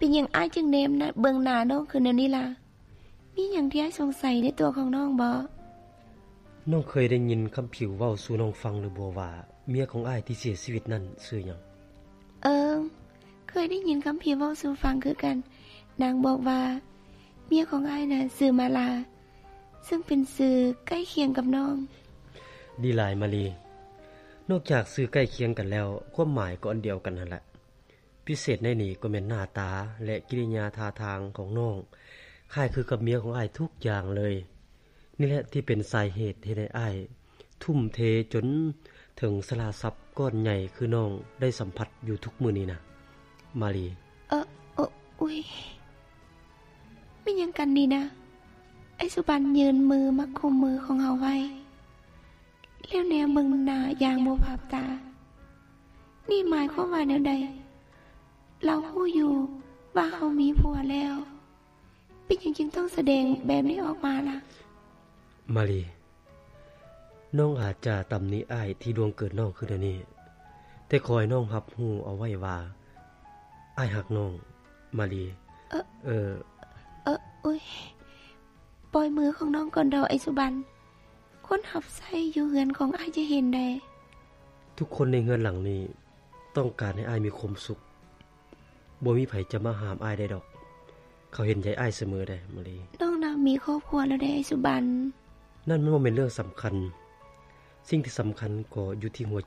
ອີ່ຫຍັງອ້າຍຈຶ່ງແນມໜ້າເບິ່ງໜ້ານ້ອງຄືນແນວນີ້ລະ? ມີຫຍັງທີ່ອ້າຍສົງໄສໃນຕົວຂອງນ້ອງບໍ? ນ້ອງເຄີຍໄດ້ຍິນຄຳຜິວເວົ້າສູ່ນ້ອງຟັງຫຼືບໍ່ວ່າ ເມຍຂອງອ້າຍທີ່ເສຍຊີວິດນັ້ນຊື່ຫຍັງ? ເອີ ເຄີຍໄດ້ຍິນຄຳຜິວເວົ້າສູ່ຟັງຄືກັນ. ນາງບອກວ່າ ເມຍຂອງອ້າຍນະຊື່ມາລາ ເຊິ່ງເປັນຊື່ໃກ້ຄຽງກັບນ້ອງ. ດີຫຼາຍມາລີ. ນອກຈາກຊື່ໃກ້ຄຽງກັນແລ້ວ ຄວາມໝາຍກໍອັນດຽວກັນຫັ້ນແຫຼະ. ພິເສດໃນນີ້ກໍແມ່ນໜ້າຕາ ແລະ ກິລິຍາທ່າທາງຂອງນ້ອງ ຄ້າຍຄືກັບເມຍຂອງອ້າຍທຸກຢ່າງເລີຍ. ນີ້ແຫຼະທີ່ເປັນສາເຫດເຮັດໃຫ້ອ້າຍທຸ່ມເທຈົນເຖິງສະລະຊັບກ້ອນໃຫຍ່ຄືນ້ອງໄດ້ສຳຜັດຢູ່ທຸກມື້ນີ້ນະ ມາລີ. ເອີ ເອີ ອຸ້ຍ ແມ່ນຫຍັງກັນນີ້ນະ? ອ້າຍສຸບັນຍື່ນມືມາກຸມມືຂອງເຮົາໄວ້ ແລ້ວແນມເບິ່ງໜ້າຢ່າງບໍ່ພາບຕາ. ນີ້ໝາຍຄວາມວ່າແນວໃດ? ລາວຮູ້ຢູ່ວ່າເຮົາມີຜົວແລ້ວ ເປັນຫຍັງຈຶ່ງຕ້ອງສະແດງແບບນີ້ອອກມາລະ? ມາລີ, ນ້ອງອາດຈະຕຳໜິອ້າຍທີ່ລ່ວງເກີນນ້ອງຄືແນວນີ້, ແຕ່ຂໍໃຫ້ນ້ອງຮັບຮູ້ເອົາໄວ້ວ່າ ອ້າຍຮັກນ້ອງ, ມາລີ. ເອີ ເອີ ເອີ ອຸ້ຍ ປ່ອຍມືຂອງນ້ອງກ່ອນເດາະ ອ້າຍສຸບັນ. ຄົນຮັບໃຊ້ຢູ່ເຮືອນຂອງອ້າຍຈະເຫັນໃດ. ທຸກຄົນໃນເຮືອນຫຼັງນີ້ຕ້ອງການໃຫ້ອ້າຍມີຄວາມສຸກ. ບໍ່ມີໃຜຈະມາຫ້າມອ້າຍໄດ້ດອກ. ເຂົາເຫັນໃຈອ້າຍສະເໝີໃດ໋ ມາລີ. ນ້ອງນະມີຄອບຄົວແລ້ວໃດ໋ ອ້າຍສຸບັນ. ນັ້ນມັນບໍ່ແມ່ນເລື່ອງສຳຄັນ. ສິ່ງທີ່ສຳຄັນກໍຢູ່ທີ່ຫົວໃຈ